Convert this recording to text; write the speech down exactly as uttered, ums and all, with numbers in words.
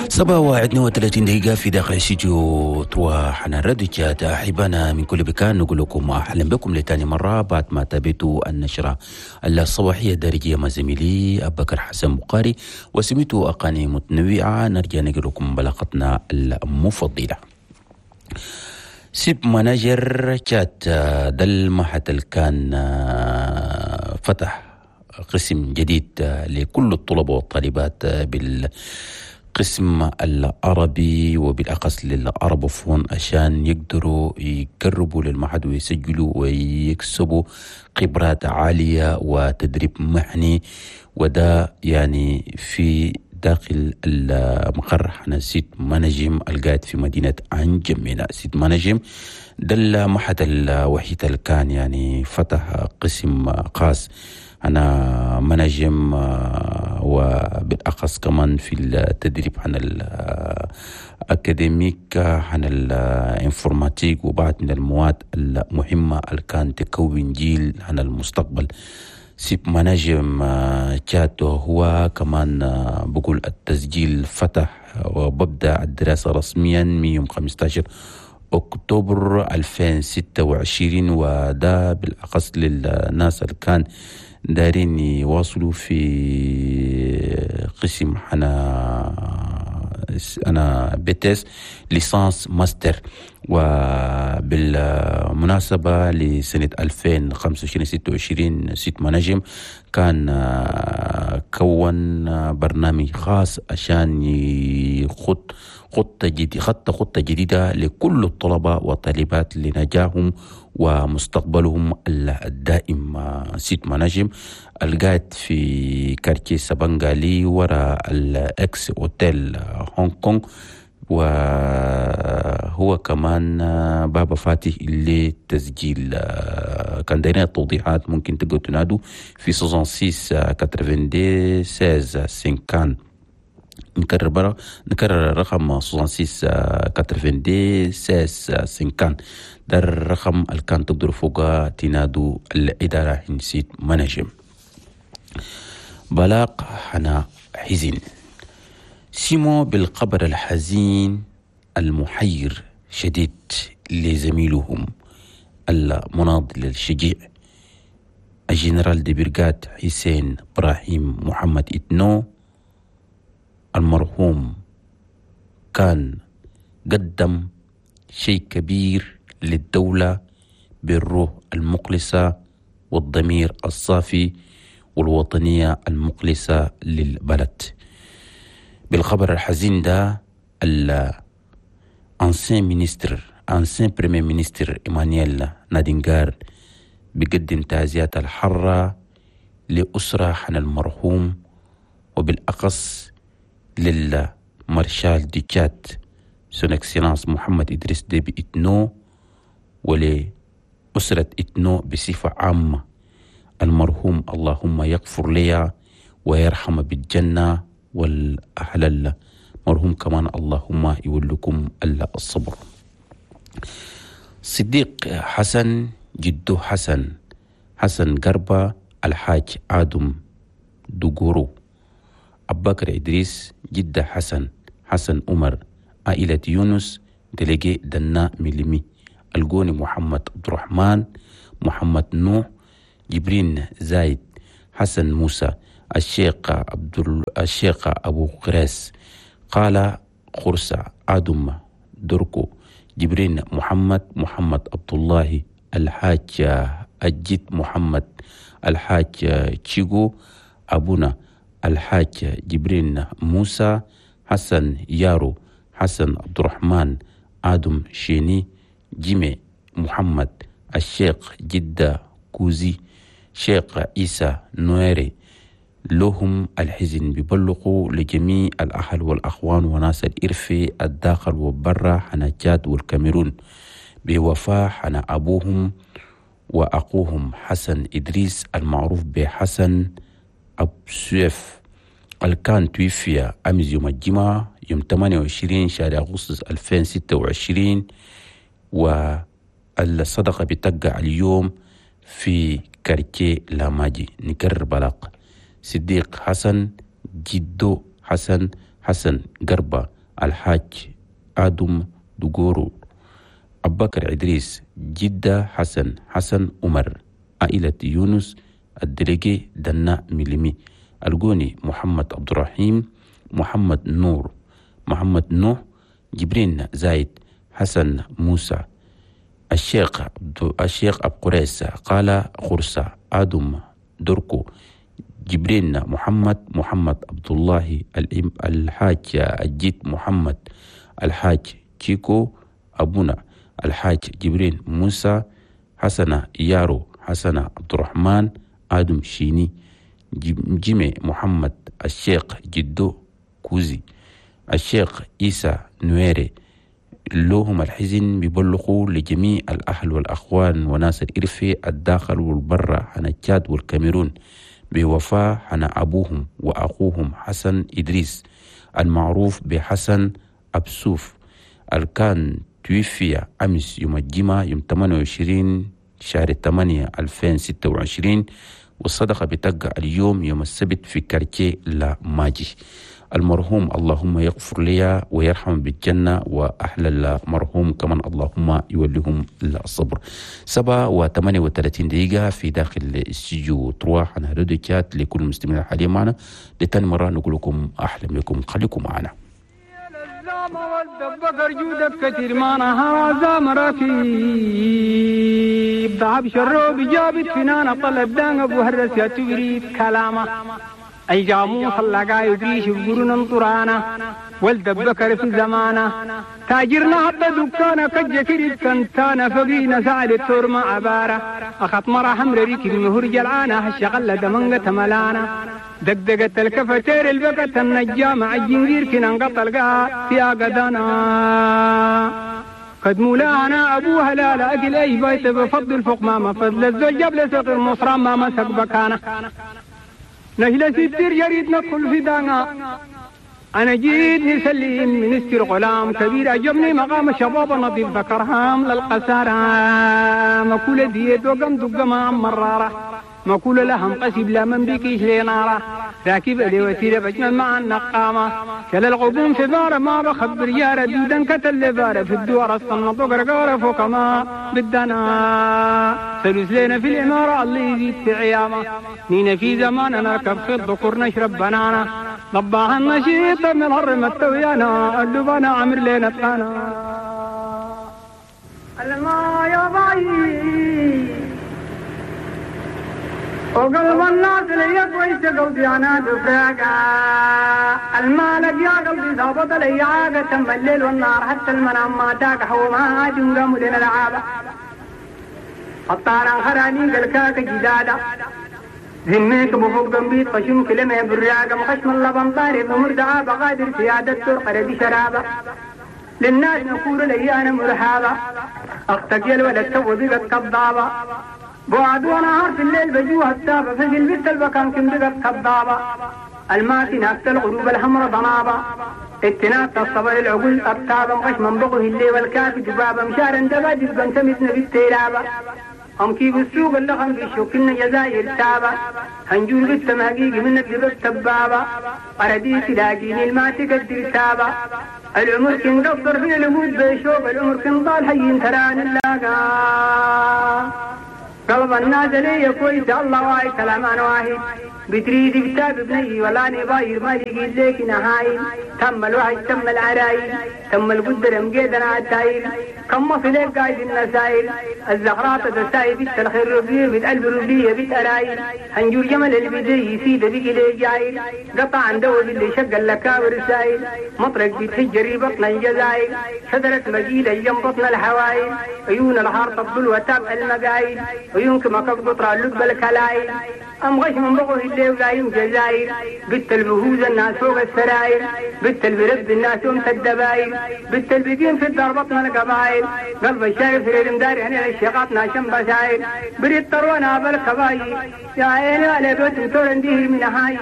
سبعة واثنين وثلاثين دقيقة في داخل استديو trois حنا راديو تشاد. أحبانا من كل مكان، نقول لكم أهلا بكم لتاني مرة بعد ما تابعتوا النشرة الصباحية الدارجية مع زميلي أبو بكر حسن بخاري وسمعتوا أغاني متنوعة. نرجع نقول لكم بلاغتنا المفضلة. SEP Manager تشاد، ده المعهد اللي كان فتح قسم جديد لكل الطلبة والطالبات بال القسم العربي وبالأخص لل arabophones، عشان يقدروا يقربوا للمعهد ويسجلوا ويكسبوا خبرات عالية وتدريب مهني، وده يعني في داخل المقر حنا SEP Managem القاعد في مدينة أنجمينا. SEP Managem ده المعهد الوحيد اللي كان يعني فتح قسم خاص أنا Managem، وبالأخص كمان في التدريب عن ال académique، عن ال informatique، وبعض من المواد المهمة اللي كان تكون جيل عن المستقبل. SEP Managem تشاد هو كمان بقول التسجيل فتح وببدأ الدراسة رسميا من يوم خمستاشر أكتوبر ألفين وستة وعشرين، وده بالأخص للناس اللي كان دايرين يواصلوا في قسم حنا أنا B T S، licence، master. وبالمناسبة لسنة ألفين وخمسة وعشرين ستة وعشرين SEP Managem كان كون برنامج خاص عشان يخط خطة جديدة خطة خطة جديدة لكل الطلبة والطالبات لنجاحهم ومستقبلهم الدائم. SEP Managem القاعد في quartier سبنغالي وراء ال ex hôtel هونغ كونغ، وهو كمان بابا فاتح للتسجيل. كان دايرين التوضيحات ممكن تقدروا تنادوا في ستة وستين اثنين وتسعين ستة عشر خمسين. نكرر برا نكرر الرقم ستة وستين اثنين وتسعين ستة عشر خمسين. ده الرقم اللي كان تقدروا فوقه تنادوا الإدارة هن SEP Managem. بلاغ حنا حزين، سمعوا بالخبر الحزين المحير شديد لزميلهم المناضل الشجيع الجنرال de brigade حسين إبراهيم محمد إتنو المرحوم. كان قدم شيء كبير للدولة بالروح المخلصة والضمير الصافي والوطنية المخلصة للبلد. بالخبر الحزين ده، ال ancien ministre، ancien premier ministre ايمانويل نادينغار بيقدم تعزيات الحارة لأسرة حن المرحوم، وبالأخص لل maréchal du Tchad son excellence محمد إدريس ديبي إتنو، ولأسرة إتنو بصفة عامة. المرحوم اللهم يغفر لي ويرحم بالجنة، والأهل المرحوم كمان اللهم يولكم الصبر. صديق حسن، جدو حسن، حسن قربة، الحاج آدم دوغورو، أبكر إدريس، جدة حسن، حسن عمر، عائلة يونس، délégué دنا ميلمي، الجوني محمد عبد الرحمن، محمد نوح، جبرين زايد، حسن موسى، الشيخ عبد الشيخ أبو قراس، قال خرسة، آدم دركو، جبرين محمد، محمد عبد الله، الحاج الجد محمد، الحاج تشيغو أبونا، الحاج جبرين موسى، حسن يارو، حسن عبد الرحمن، آدم شيني، جيمي محمد، الشيخ جدة كوزي، شيخ عيسى نويري. لهم الحزن بيبلغوا لجميع الأهل والأخوان وناس الإرفي الداخل وبرا حنا تشاد والكاميرون بوفاة حنا أبوهم وأخوهم حسن إدريس المعروف بحسن أبو سيف، الكان توفي أمس يوم الجمعة يوم ثمانية وعشرين شهر أغسطس ألفين وستة وعشرين، والصدقة بتقع اليوم في quartier لاماجي. نكرر بلاغ: صديق حسن، جدو حسن، حسن حسن قربة الحاج آدم دغورو أبكر إدريس جدة حسن حسن عمر عائلة يونس الدليجي دنا ميلمي الجوني محمد عبد الرحيم محمد نور محمد نوح جبرين زايد حسن موسى الشيخ الشيخ أبو قريس قال خرسة آدم دركو جبرين محمد محمد عبد الله الحاج الجيت محمد الحاج تشيكو أبونا الحاج جبرين موسى حسن يارو حسن عبد الرحمن آدم شيني جيمي محمد الشيخ جدو كوزي الشيخ إيسى نويري. لهم الحزن بيبلغوا لجميع الأهل والأخوان وناس الإرفي الداخل والبرة عن التشاد والكاميرون بوفاة عن أبوهم وأخوهم حسن إدريس المعروف بحسن أبسوف الكان توفي أمس يوم الجمعة يوم ثمانية وعشرين شهر ثمانية ألفين وستة وعشرين، والصدقة بتقع اليوم يوم السبت في كارتيه لا ماجي. المرحوم اللهم يغفر لي ويرحم بالجنة، وأهل المرحوم كمان اللهم يوليهم الصبر. سبعة وثمانية وثلاثين دقيقة في داخل استوديو تروح عن راديو تشات لكل المستمعين الحاليين معنا. لتاني مرة نقول لكم أحلى لكم، خليكم معنا. والدبكر جودك كثير ما نهار زامركيب ذهب شروب جابت فنان طلب دان ابو هرس يا تبريد كلامه اي جاموس اللقا يدريش بقرون طرانا والدبكر في زمانه تاجرنا حتى دكانا كجكري كنتانا فقينا سعد التور ما عبارة اخط مرة حمر ريك المهور جلعانه الشغلة دمنقة ملانا دقدقت الكفتير البقت النجام عالجنجير كنا انقطع القاع في قدانا قد مولانا ابوها لا لا اكل اي بيت بفضل فوق ما فضل الزوج جاب لسق المصرى ما مسك بكانا نهلا ستير جريد ندخل في دانا انا جيت نسلم منستر غلام كبير عجبني مقام الشباب النظيف ذكرهام للقسارة مكولة ديت وقم دق ما مرارة مقول لهم قسب لا من بكيش لنارة راكب لي وسيلة بجمل مع النقامة كل الغبون في بارة ما بخبر يا دودا كتل بارة في الدوار الصنط وقرقارة فوق ما بدنا سلوس لنا في الإمارة اللي يزيد في عيامة نينا في زمان نركب في الذكور نشرب بنانا ضباها النشيط من هرم التويانا اللبانا عمر لنا تقانا الما يا باي وقلب الناس لي كويس قلبي انا دفراقا المالك يا قلبي ظابط لي عاقة تم الليل والنهار حتى المنام ما تاك حوما عاد قاموا لنا العابة الطاران خراني قلكاك جدادا ذميك بفوق ضمبيت خشم كلمة براقة مخشم اللبن طارب مردعابة قادر سيادة ترقر بشرابة للناس نقول لي انا مرحابة اختك يا الولد تو بقت كضابة بعد ونهار في الليل بجوها التابة في البيت البكان كم بقت كضابة الماتي ناكت الغروب الحمر ضنابة اتنات الصبر العقول التابة مغش من بغه الليل والكافي دبابة مشارا دبا دبا تمتنا بالتيلابة هم كيف السوق اللخم في شوكنا جزائر تابة هنجور بالتمهقيق من الدبب تبابة أرديت لاقيني الماتي قدر تابة العمر كن قصر في الأمود بيشوب العمر كن ضال حيين تران اللاقا قلب الناس لي كويس الله واي كلام انا واحد بتريد كتاب بني ولا نباير ما يجي لك نهاي تم الوحي تم العرايل تم القدر مقيدنا عالتايل كم في لك قايد النسايل الزغرات تساي بيت الخير ربيه بيت قلب ربيه بيت ارايل هنجور جمل البدي يسيد بيك لي جايل قطع عن دول اللي شق اللكاور السايل مطرق بيتهجري بطن الجزايل شجرة مجيلة جنب بطن الحوايل عيون الحار تبدل وتاب المقايل عيونك ما قطرة اللب الكلايل أم غش من بقه اللي ولايم جزاير بت البهوز الناس فوق السراير بت البرب الناس يوم الدباير بت البدين في الدار بطن القبايل قلب الشايف في المدار هنا الشيقات ناشم بساير بريد طروانا بالكباير يا عيني على بيت تورنديه من هاي.